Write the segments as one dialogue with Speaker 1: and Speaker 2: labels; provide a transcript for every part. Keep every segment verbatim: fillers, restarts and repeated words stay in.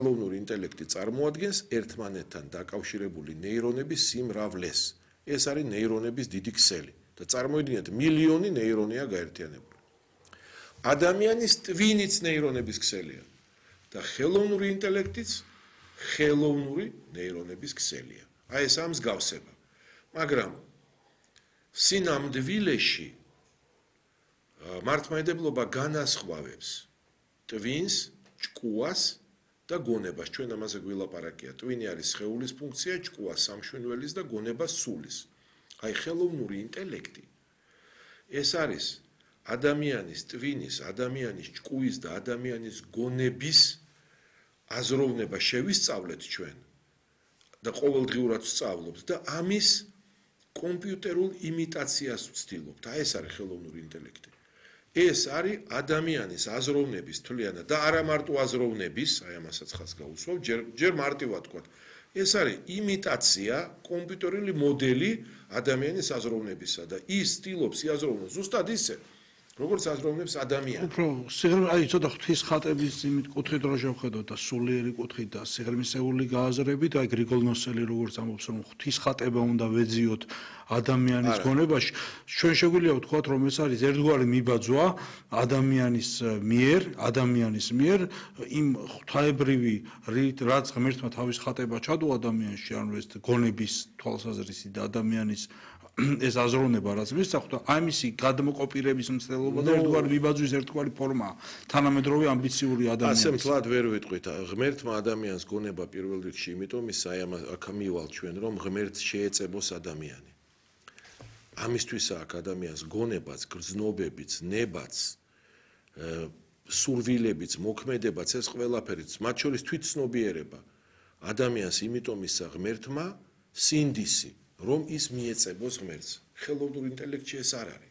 Speaker 1: ხელოვნური ინტელექტი წარმოადგენს ერთმანეთთან დაკავშირებული ნეირონების სიმრავლეს. ეს არის ნეირონების დიდი ქსელი და წარმოიდგინეთ მილიონი ნეირონია გაერთიანებული. ადამიანის ტვინიც ნეირონების ქსელია და ხელოვნური ინტელექტიც ხელოვნური ნეირონების ქსელია. აი ეს ამ მსგავსება. მაგრამ სინამდვილეში მართლმადიდებლობა განასხვავებს ტვინს, ჭკუას და გონებას. ჩვენ ამაზე გვილაპარაკია. ტვინი არის სხეულის ფუნქცია, ჭკუა სამშვენველის და გონება სულის. აი ხელოვნური ინტელექტი ეს არის ადამიანის ტვინის, ადამიანის ჭკუის და ადამიანის გონების აზროვნება შევისწავლეთ ჩვენ და ყოველდღიურად ვსწავლობთ და ამის კომპიუტერულ იმიტაციას ვცდილობთ. აი ეს არის ხელოვნური ინტელექტი. ეს არის ადამიანის აზროვნების თვლიანად და არა მარტო აზროვნების, აი ამასაც ხაზს გაუსვავ, ჯერ ჯერ მარტივად თქვა. ეს არის იმიტაცია, კომპიუტერული მოდელი ადამიანის აზროვნებისა და ის ცდილობს იაზროვნოს ზუსტად ისე, როგორც აზროვნებს ადამიანი.
Speaker 2: უფრო სიღრმე, აი ცოტა ღვთის ხატების იმით კუთხით რო შევხედოთ და სულიერი კუთხით და სიღრმისეული გააზრებით, აი გრიგოლ ნოსელი როგორც ამბობს, რომ ღვთის ხატება უნდა ვეძიოთ ადამიანის გონებაში, ჩვენ შეგვიძლია ვთქვათ, რომ ეს არის ერთგვარი მიბაძვა ადამიანის მიერ, ადამიანის მიერ იმ ღვთაებრივი რაც ღმერთმა თავის ხატება ჩადო ადამიანში, ანუ ეს გონების თვალსაზრისით და ადამიანის ეს აზროვნება რაც მისახდა, ამისი გადმოკოპირების მცდელობა და ერთგვარი მიბაძვის ერთგვარი ფორმაა. თანამედროვე ამბიციური ადამიანის.
Speaker 1: ასე მთლად ვერ ვიტყვით. ღმერთმა ადამიანს გონება პირველ რიგში, იმიტომ ის აი ამ აქ მივალ ჩვენ, რომ ღმერთს შეეწებოს ადამიანი. ამისთვისა აქ ადამიანს გონებაც, გრძნობებიც, ნებაც, სურვილებიც, მოქმედებაც, ეს ყველაფერიც, მათ შორის თვითცნობიერება ადამიანს იმიტომ ისა ღმერთმა სინდისი, რომ ის მიეწებოს ღმერთს. ხელოვნურ ინტელექტში ეს არ არის.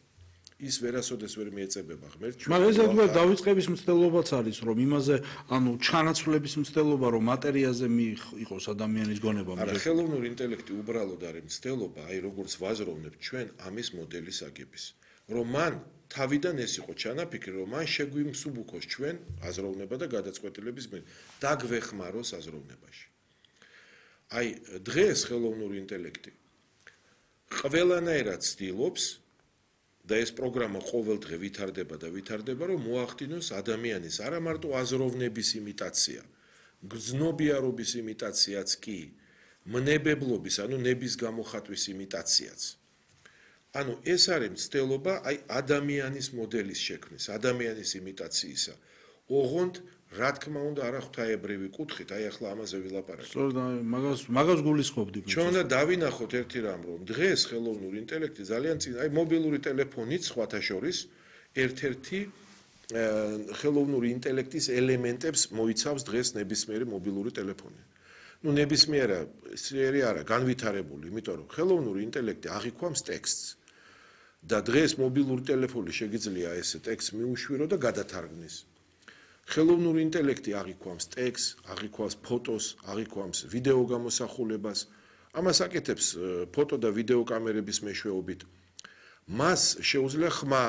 Speaker 1: ის ვერასოდეს ვერ მიეწებება ღმერთს.
Speaker 2: მაგრამ ეს ერთგვარი დავიწყების მცდელობაც არის, რომ იმაზე, ანუ ჩანაცვლების მცდელობა, რომ მატერიაზე მიიღოს ადამიანის გონება.
Speaker 1: არა, ხელოვნური ინტელექტი უბრალოდ არის მცდელობა, აი როგორც ვაზროვნებთ ჩვენ ამის მოდელის აგების. რომ მან თავიდან ეს იყო ჩანაფიქრი, რომ მან შეგვიმსუბუქოს ჩვენ აზროვნება და გადაწყვეტილების მიერ დაგვეხმაროს აზროვნებაში. აი დღეს ხელოვნური ინტელექტი ყველანაირად ცდილობს და ეს პროგრამა ყოველდღე ვითარდება და ვითარდება, რომ მოახდინოს ადამიანის არა მარტო აზროვნების იმიტაცია, გრძნობიარობის იმიტაციაც კი, მნებებლობის, ანუ ნების გამოხატვის იმიტაციაც. ანუ ეს არის მცდელობა აი ადამიანის მოდელის შექმნის, ადამიანის იმიტაციისა. ოღონდ რა თქმა უნდა არა ღვთაებრივი კუთხით, აი ახლა ამაზე ვილაპარაკეთ.
Speaker 2: სწორედ მაგას მაგას გულისხმობდი.
Speaker 1: ჩვენ უნდა დავინახოთ ერთი რამ, რომ დღეს ხელოვნური ინტელექტი ძალიან წინ, აი მობილური ტელეფონიც სხვათა შორის ერთ-ერთი ხელოვნური ინტელექტის ელემენტებს მოიცავს დღეს ნებისმიერი მობილური ტელეფონი. ნუ ნებისმიერი არა, განვითარებული, იმიტომ რომ ხელოვნური ინტელექტი აღიქვამს ტექსტს. და დღეს მობილური ტელეფონი შეგიძლია ესე ტექსტს მიუშვირო და გადათარგმნის. ხელოვნური ინტელექტი აღიქვამს ტექსტს, აღიქვამს ფოტოს, აღიქვამს ვიდეო გამოსახულებას. ამას აკეთებს ფოტო და ვიდეო კამერების მეშვეობით. მას შეუძლია ხმა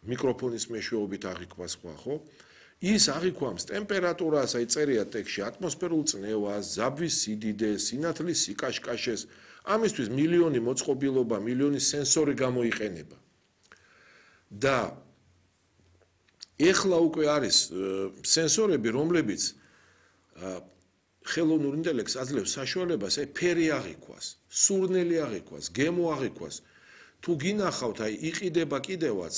Speaker 1: მიკროფონის მეშვეობით აღიქვას ხმა, ხო? ის აღიქვამს ტემპერატურას, აი წერია ტექსტში, ატმოსფერულ წნევას, ზაბვის სიდიდეს, სინათლის სიკაშკაშეს. ამისთვის მილიონი მოწყობილობა, მილიონი სენსორი გამოიყენება. და ეხლა უკვე არის სენსორები, რომლებიც ხელოვნურ ინტელექტს აძლევს საშუალებას, აი ფერი აღიქვას, სურნელი აღიქვას, გემო აღიქვას. თუ გინახავთ, აი იყიდება კიდევაც,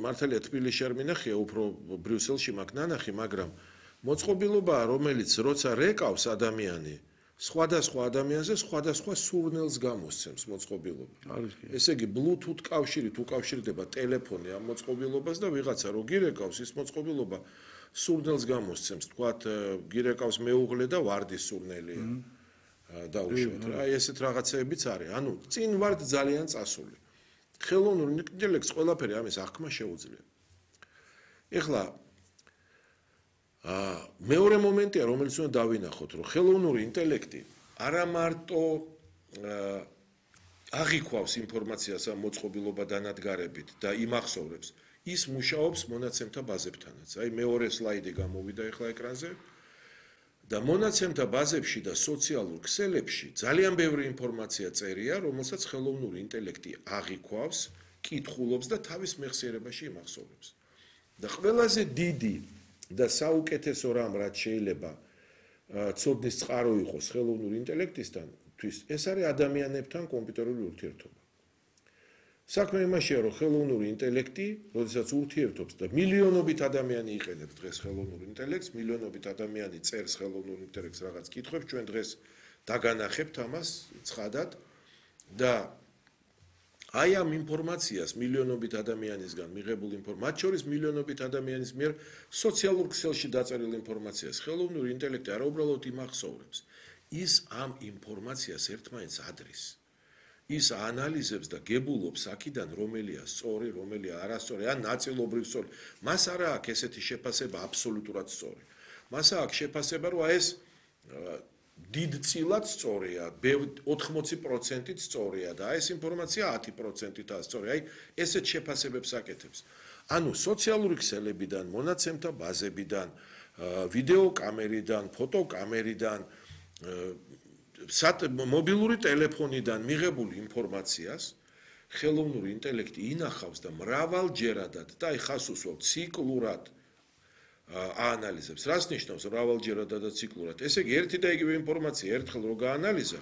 Speaker 1: მართალია თბილისში არ მინახია, უფრო ბრიუსელში მაქვს ნანახი, მაგრამ მოწყობილობაა, რომელიც როცა რეკავს ადამიანი, სხვადასხვა ადამიანზე სხვადასხვა სურნელს გამოსცემს მოწყობილობა. ესე იგი, Bluetooth კავშირით უკავშირდება ტელეფონი ამ მოწყობილობას და ვიღაცა რო გირეკავს, ის მოწყობილობა სურნელს გამოსცემს. თქვათ, გირეკავს მეუღლე და ვარდის სურნელია. დაუშვათ. აი ესეთ რაღაცეებიც არის. ანუ წინ ვართ ძალიან წასული. ხელოვნურ ინტელექტს ყველაფერი ამის აღქმა შეუძლია. ეხლა მეორე მომენტია, რომელიც უნდა დავინახოთ, რომ ხელოვნური ინტელექტი არა მარტო აღიქვავს ინფორმაციას ამ მოწყობილობა დანადგარებით და იმახსოვრებს, ის მუშაობს მონაცემთა ბაზებთანაც. აი მეორე სლაიდი გამოვიდა ეხლა ეკრანზე. და მონაცემთა ბაზებში და სოციალურ ქსელებში ძალიან ბევრი ინფორმაცია წერია, რომელსაც ხელოვნური ინტელექტი აღიქვავს, კითხულობს და თავის მეხსიერებაში იმახსოვრებს. და ყველაზე დიდი და საუკეთესო რამ, რაც შეიძლება ცოდნის წყარო იყოს ხელოვნური ინტელექტისთან, ეს არის ადამიანებთან კომპიუტერული ურთიერთობა. საქმე იმაშია, რომ ხელოვნური ინტელექტი, როდესაც ურთიერთობს და მილიონობით ადამიანი იყენებს დღეს ხელოვნურ ინტელექტს, მილიონობით ადამიანი წერს ხელოვნურ ინტელექტს რაღაც კითხვებს, ჩვენ დღეს დაგანახებთ ამას ცხადად და აი ამ ინფორმაციას მილიონობით ადამიანისგან მიღებულ ინფორმაციას, მათ შორის მილიონობით ადამიანის მიერ სოციალურ ქსელში დაწერილ ინფორმაციას ხელოვნური ინტელექტი არა უბრალოდ იმახსოვრებს, ის ამ ინფორმაციას ერთმანეთს ადრის. ის ანალიზებს და გებულობს აქედან რომელია სწორი, რომელია არასწორი, ან ნაწილობრივ სწორი. მას არა აქვს ესეთი შეფასება აბსოლუტურად სწორი. მას აქვს შეფასება, რომ ეს დიდწილად სწორია, ოთხმოცი პროცენტით სწორია და ეს ინფორმაცია ათი პროცენტითაა სწორი. აი, ესეთ შეფასებებს აკეთებს. ანუ სოციალური ქსელებიდან, მონაცემთა ბაზებიდან, ვიდეო კამერიდან, ფოტო კამერიდან, მობილური ტელეფონიდან მიღებულ ინფორმაციას ხელოვნური ინტელექტი ინახავს და მრავალჯერადად და აი ხას უსვამთ ციკლურად აანალიზებს. რას ნიშნავს მრავალჯერადად და ციკლურად? ესე იგი ერთი და იგივე ინფორმაცია ერთხელ რო გაანალიზა,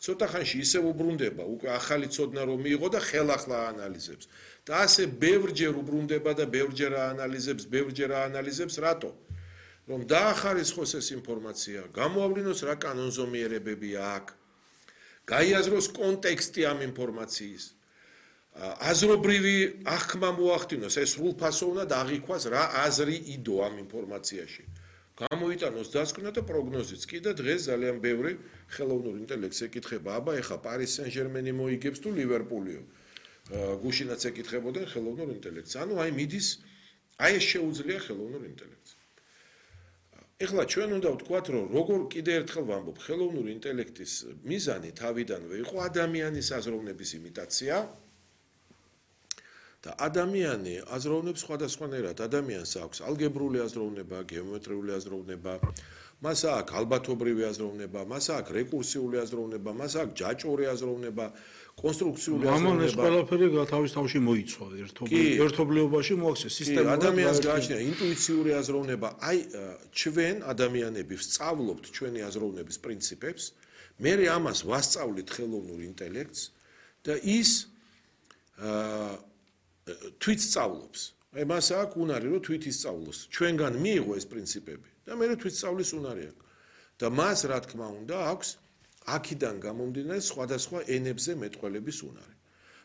Speaker 1: ცოტა ხანში ისევ უბრუნდება, უკვე ახალი ცოდნა რომ მიიღო და ხელახლა აანალიზებს. და ასე ბევრჯერ უბრუნდება და ბევრჯერ აანალიზებს, ბევრჯერ აანალიზებს, რატო? რომ დაახარისხოს ეს ინფორმაცია, გამოავლინოს რა კანონზომიერებებია აქ, გაიაზროს კონტექსტი ამ ინფორმაციის, აზრობრივი აღქმა მოახდინოს, ეს სრულფასო უნდა აღიქვას რა აზრი იდო ამ ინფორმაციაში. გამოიტანოს დასკვნა და პროგნოზიც კი და დღეს ძალიან ბევრი ხელოვნურ ინტელექტს ეკითხება, აბა ეხა პარის სენ-ჟერმენი მოიგებს თუ ლივერპულიო. გუშინაც ეკითხებოდნენ ხელოვნურ ინტელექტს. ანუ აი მიდის, აი ეს შეუძლია ხელოვნურ ინტელექტს. ეხლა ჩვენ უნდა ვთქვათ, რომ როგორ კიდე ერთხელ ვამბობ, ხელოვნური ინტელექტის მიზანი თავიდანვე იყო ადამიანის აზროვნების იმიტაცია და ადამიანი აზროვნებს სხვადასხვანაირად. ადამიანს აქვს ალგებრული აზროვნება, გეომეტრიული აზროვნება, მას აქვს ალბათობრივი აზროვნება, მას აქვს რეკურსიული აზროვნება, მას აქვს ჯაჭვური აზროვნება, კონსტრუქციული აზროვნება.
Speaker 2: ამან ეს ყველაფერი თავის თავში მოიცვა ერთობლიობაში მოაქცია სისტემურად.
Speaker 1: ადამიანს გააჩნია ინტუიციური აზროვნება. აი ჩვენ ადამიანები ვსწავლობთ ჩვენი აზროვნების პრინციპებს, მე ამას ვასწავლით ხელოვნურ ინტელექტს და ის თვით სწავლობს. აი მას აქვს უნარი რომ თვით ისწავლოს. ჩვენგან მიიღო ეს პრინციპები და მე თვით სწავლის უნარი აქვს. და მას რა თქმა უნდა აქვს აქედან გამომდინარე სხვადასხვა ენებზე მეტყველების უნარი.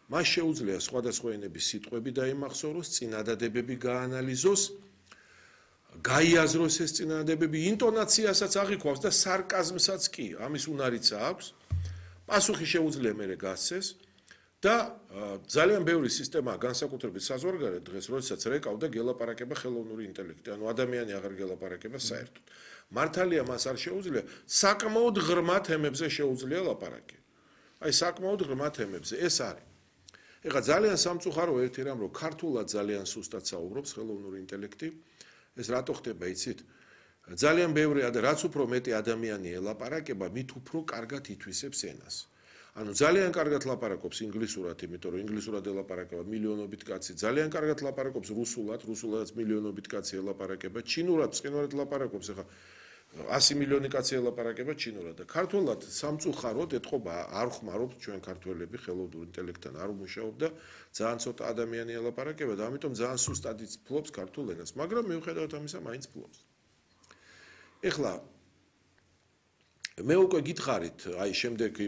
Speaker 1: მას შეუძლია სხვადასხვა ენების სიტყვები დაიმახსოვროს, წინადადებები გაანალიზოს, გაიაზროს ეს წინადადებები, ინტონაციასაც აღიქვავს და სარკაზმსაც კი, ამის უნარიც აქვს. პასუხი შეუძლია მერე გასცეს და ძალიან ბევრი სისტემაა განსაკუთრებით საზღვარგარეთ დღეს, როდესაც რეკავდა გელაპარაკება ხელოვნური ინტელექტი, ანუ ადამიანი აღარ გელაპარაკება საერთოდ. მართალია მას არ შეუძლია, საკმაოდ ღრმა თემებზე შეუძლია ლაპარაკი. აი საკმაოდ ღრმა თემებზე ეს არის. ეხლა ძალიან სამწუხარო ერთი რამ, რომ ქართულად ძალიან სუსტად საუბრობს ხელოვნური ინტელექტი, ეს რატო ხდება იცით? ძალიან ბევრი რაც უფრო მეტი ადამიანი ელაპარაკება, მით უფრო კარგად ითვისებს ენას. ანუ ძალიან კარგად ლაპარაკობს ინგლისურად, იმიტომ რომ ინგლისურად ელაპარაკება მილიონობით კაცი, ძალიან კარგად ლაპარაკობს რუსულად, რუსულადაც მილიონობით კაცი ელაპარაკება, ჩინურად, ცხინვალად ლაპარაკობს, ეხლა ასი მილიონი კაცი ელაპარაკება ჩინურად და ქართულად სამწუხაროდ ეთყობა არ ხმარობთ ჩვენ ქართველები ხელოვნურ ინტელექტთან არ მუშაობ და ძალიან ცოტა ადამიანი ელაპარაკება და ამიტომ ძალიან სუსტად ფლობს ქართულ ენას, მაგრამ მიუხედავად ამისა მაინც ფლობს. ეხლა მე უკვე გითხარით, აი შემდეგი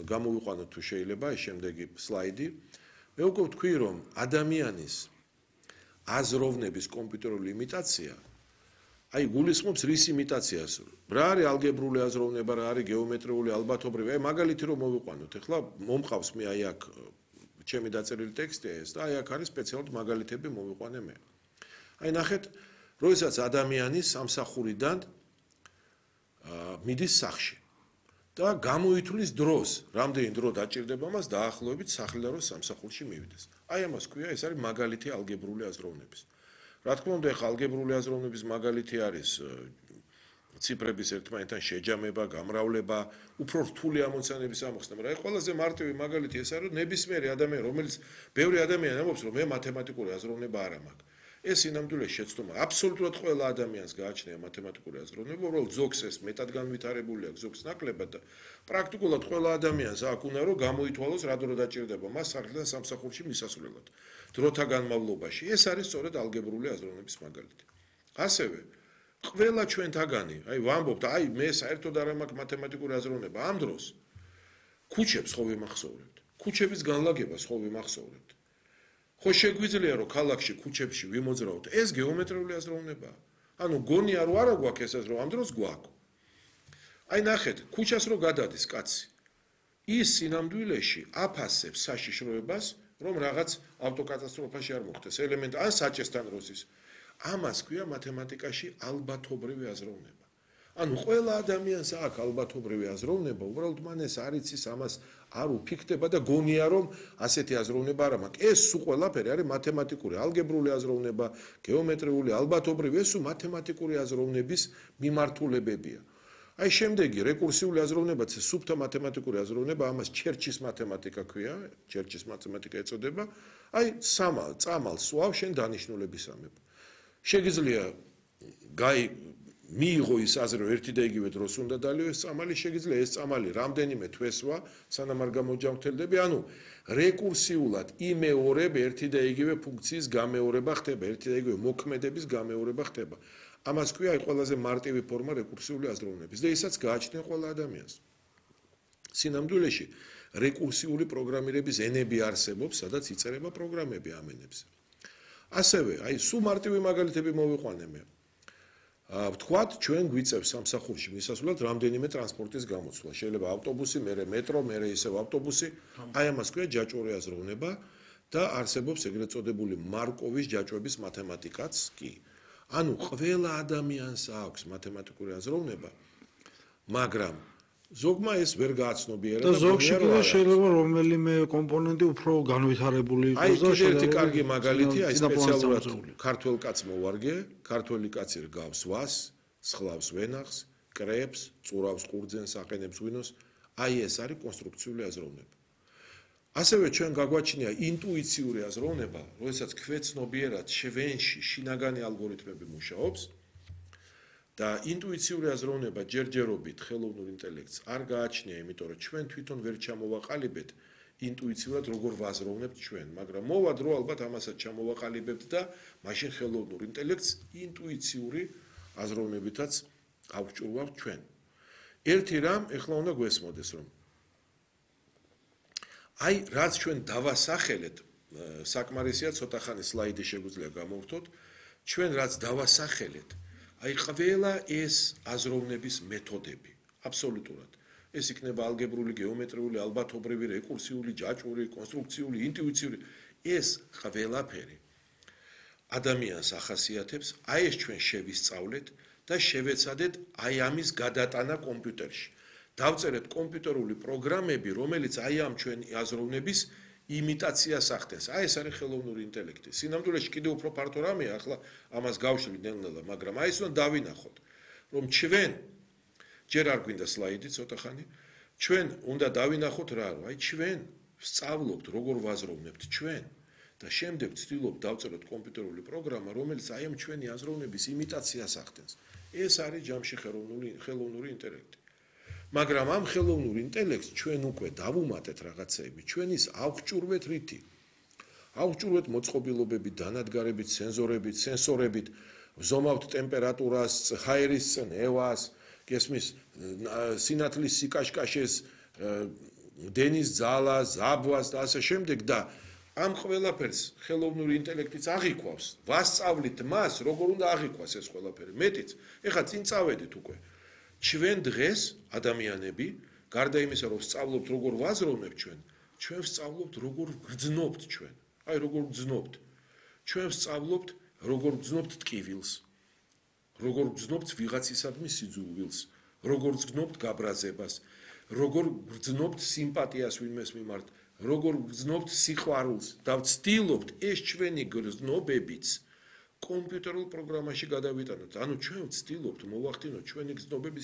Speaker 1: გამოვიყვანოთ თუ შეიძლება, აი შემდეგი სლაიდი. მე უკვე ვთქვი, რომ ადამიანის აზროვნების კომპიუტერული იმიტაცია, აი გულისხმობს რის იმიტაციას. რა არის ალგებრული აზროვნება, რა არის გეომეტრიული, ალბათობრივი. აი მაგალითი რომ მოვიყვანოთ, ეხლა მომყავს მე აი აქ ჩემი დაწერილი ტექსტია ეს და აი აქ არის სპეციალურად მაგალითები მოვიყვანე მე. აი ნახეთ, როდესაც ადამიანი სამსახურიდან მიდის სახლში და გამოითვლის დროს, რამდენი დრო დაჭირდება მას დაახლოებით სახლიდან რომ სამსახურში მივიდეს. აი ამას ქვია, ეს არის მაგალითი ალგებრული აზროვნების. რა თქმა უნდა, ახლა ალგებრული აზროვნების მაგალითი არის ციფრების ერთმანეთთან შეჯამება, გამრავლება, უფრო რთული ამოცანების ამოხსნა, მაგრამ აი ყველაზე მარტივი მაგალითი ეს არის, რომ ნებისმიერი ადამიანი, რომელიც ბევრი ადამიანი ამბობს, რომ მე მათემატიკური აზროვნება არ მაქვს. ეს ინამდვილეს შეცდომა. აბსოლუტურად ყველა ადამიანს გააჩნია მათემატიკური აზროვნება, უბრალოდ ზოგს ეს მეტად განვითარებული აქვს, ზოგს ნაკლებად და პრაქტიკულად ყველა ადამიანს აქვს უნდა რომ გამოითვალოს რა დრო დაჭირდება მას სახლიდან სამსახურში მისასვლელად. დროთა განმავლობაში. ეს არის სწორედ ალგებრული აზროვნების მაგალითი. ასევე ყველა ჩვენთაგანი, აი ვამბობთ, აი მე საერთოდ არ მაქვს მათემატიკური აზროვნება ამ დროს. ქუჩებს ხო ვიმახსოვრებთ. ქუჩების განლაგებას ხო ვიმახსოვრებთ. ხო შეგვიძლია რომ ქალაქში ქუჩებში ვიმოძრავთ ეს გეომეტრიული აზროვნება. ანუ გონია რომ არა გვაქვს ესეც რომ ამ დროს გვაქვს. აი ნახეთ, ქუჩას რო გადადის კაცი. ის სინამდვილეში აფასებს საშიშროებას, რომ რაღაც ავტოკატასტროფაში არ მოხდეს ელემენტ ან საჭესთან როსის. ამას ქვია მათემატიკაში ალბათობრივი აზროვნება. ანუ ყველა ადამიანს აქვს ალბათობრივი აზროვნება, უბრალოდ მან ეს არ იცის ამას არ უფიქდება და გონია რომ ასეთი აზროვნება არ მაქვს. ეს სულ ყველაფერი არის მათემატიკური, ალგებრული აზროვნება, გეომეტრიული, ალბათობრივი, ეს სულ მათემატიკური აზროვნების მიმართულებებია. აი შემდეგი რეკურსიული აზროვნებაც სუფთა მათემატიკური აზროვნება, ამას ჩერჩის მათემატიკა ქვია, ჩერჩის მათემატიკა ეწოდება. აი სამალ, წამალ, სვავ შენ დანიშნულებისამებ. შეგიძლია გაი მიიღო ის აზრი რომ ერთი და იგივე დროს უნდა დალიო ეს წამალი, შეგიძლია ეს წამალი რამდენიმე თვესვა სანამ არ გამოჯამრთელდები, ანუ რეკურსიულად იმეორებ ერთი და იგივე ფუნქციის გამეორება ხდება, ერთი და იგივე მოქმედების გამეორება ხდება. ამას ქვია აი ყველაზე მარტივი ფორმა რეკურსიული აზროვნების და ისაც გააჩნია ყველა ადამიანს. სინამდვილეში რეკურსიული პროგრამირების ენები არსებობს, სადაც იწერება პროგრამები ამ ენებზე. ასევე აი სულ მარტივი მაგალითები მოვიყვანე მე. ვთქვათ, ჩვენ გვიწევს სამსახურში მისასვლელად რამდენიმე ტრანსპორტის გამოცვლა. შეიძლება ავტობუსი, მერე მეტრო, მერე ისევ ავტობუსი. აი ამას ქვია ჯაჭვური აზროვნება და არსებობს ეგრეთ წოდებული მარკოვის ჯაჭვების მათემატიკაც კი. ანუ ყველა ადამიანს აქვს მათემატიკური აზროვნება, მაგრამ ზოგმა ეს ვერ გააცნობიერა
Speaker 2: და ზოგში კიდე შეიძლება რომელიმე კომპონენტი უფრო განვითარებული იყოს და
Speaker 1: შეიძლება ერთი კარგი მაგალითი აი სპეციალურად ქართველ კაცს მოვარგე, ქართველი კაცი რგავს ვას, სხლავს ვენახს, კრებს, წურავს ყურძენს, აყენებს ღვინოს, აი ეს არის კონსტრუქციული აზროვნება. ასევე ჩვენ გაგვაჩნია ინტუიციური აზროვნება, როდესაც ქვეცნობიერად ჩვენში შინაგანი ალგორითმები მუშაობს და ინტუიციური აზროვნება ჯერჯერობით ხელოვნურ ინტელექტს არ გააჩნია, იმიტომ რომ ჩვენ თვითონ ვერ ჩამოვაყალიბეთ ინტუიციურად როგორ ვაზროვნებთ ჩვენ, მაგრამ მოვა დრო ალბათ ამასაც ჩამოვაყალიბებთ და მაშინ ხელოვნურ ინტელექტს ინტუიციური აზროვნებითაც ავჭურვავთ ჩვენ. ერთი რამ ეხლა უნდა გვესმოდეს, რომ აი რაც ჩვენ დავასახელეთ, საკმარისია ცოტა ხანი სლაიდი შეგვიძლია გამოვთოთ, ჩვენ რაც დავასახელეთ აი ყველა ეს აზროვნების მეთოდები, აბსოლუტურად. ეს იქნება ალგებრული, გეომეტრიული, ალბათობრივი, რეკურსიული, ჯაჭვური, კონსტრუქციული, ინტუიციური, ეს ყველაფერი ადამიანს ახასიათებს, აი ეს ჩვენ შევისწავლეთ და შევეცადეთ აი ამის გადატანა კომპიუტერში. დავწერეთ კომპიუტერული პროგრამები, რომელიც აი ამ ჩვენი აზროვნების იმიტაციას ახდენს. აი ეს არის ხელოვნური ინტელექტი. სინამდვილეში კიდევ უფრო ფართო რამეა, ახლა ამას გავშლით ნელ-ნელა, მაგრამ აი ეს უნდა დავინახოთ, რომ ჩვენ ჯერ არ გვინდა სლაიდი ცოტა ხანი, ჩვენ უნდა დავინახოთ რა, რომ აი ჩვენ ვსწავლობთ როგორ ვაზროვნებთ ჩვენ და შემდეგ ვცდილობთ დავწეროთ კომპიუტერული პროგრამა, რომელიც აი ამ ჩვენი აზროვნების იმიტაციას ახდენს. ეს არის ჯამში ხელოვნური ხელოვნური ინტელექტი. მაგრამ ამ ხელოვნურ ინტელექტს ჩვენ უკვე დავუმატეთ რაღაცეები, ჩვენ ის ავჭურვეთ რითი? ავჭურვეთ მოწყობილობებით, დანადგარებით, სენზორებით, სენსორებით, ვზომავთ ტემპერატურას, ჰაერის წნევას, გესმის, სინათლის სიკაშკაშეს, დენის ძალას, ზაბვას და ასე შემდეგ და ამ ყველაფერს ხელოვნური ინტელექტიც აღიქვავს. ვასწავლით მას, როგორ უნდა აღიქვას ეს ყველაფერი. მეტიც, ეხლა წინ წავედით უკვე. ჩვენ დღეს ადამიანები, გარდა იმისა, რომ ვსწავლობთ როგორ ვაზროვნებთ ჩვენ, ჩვენ ვსწავლობთ როგორ ვგრძნობთ ჩვენ. აი როგორ ვგრძნობთ. ჩვენ ვსწავლობთ როგორ ვგრძნობთ ტკივილს, როგორ ვგრძნობთ ვიღაცისადმი სიძულვილს, როგორ ვგრძნობთ გაბრაზებას, როგორ ვგრძნობთ სიმპათიას ვინმეს მიმართ, როგორ ვგრძნობთ სიყვარულს და ვცდილობთ ეს ჩვენი გრძნობებიც კომპიუტერულ პროგრამაში გადავიტანოთ. ანუ ჩვენ ვცდილობთ მოვახდინოთ ჩვენი გზნობების